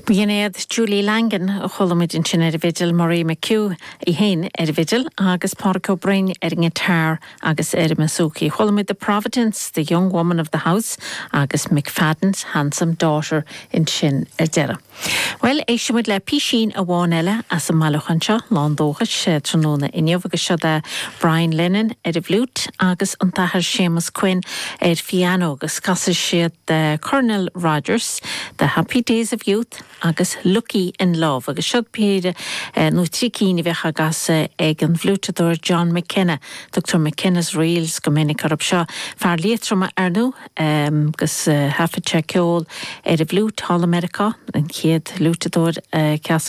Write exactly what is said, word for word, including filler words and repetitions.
B'in iad Julie Langan a chuala muid ansin ar an bhfidil Marie McHugh í féin ar an bhfidil agus Pádraig Ó Broin ar an ngiotár agus ar an mbouzouki. Chuala muid the Providence, the young woman of the house agus McFadden's handsome daughter ansin ar deireadh. Well éistfimid le písín amháin eile as an mbailiúchán seo lán dóchais tráthnóna inniu agus seo é Brian Lennon ar an bhfliúit agus an tAthair Séamus Quinn ar piano agus casfaidh siad uh, Colonel Rogers, The Happy Days of Youth agus Lucky in Love agus seo péire uh, nó trí cinn a bheidh á gcasadh ag an bhfliúiteadóir John McKenna, Dr. McKenna's Reels go minic orthu seo fear Liatroma ar ndóigh um, agus uh, thaifead sé ceol ar an bhfliúit thall i Meiriceá an chéad fhliúiteadóir uh,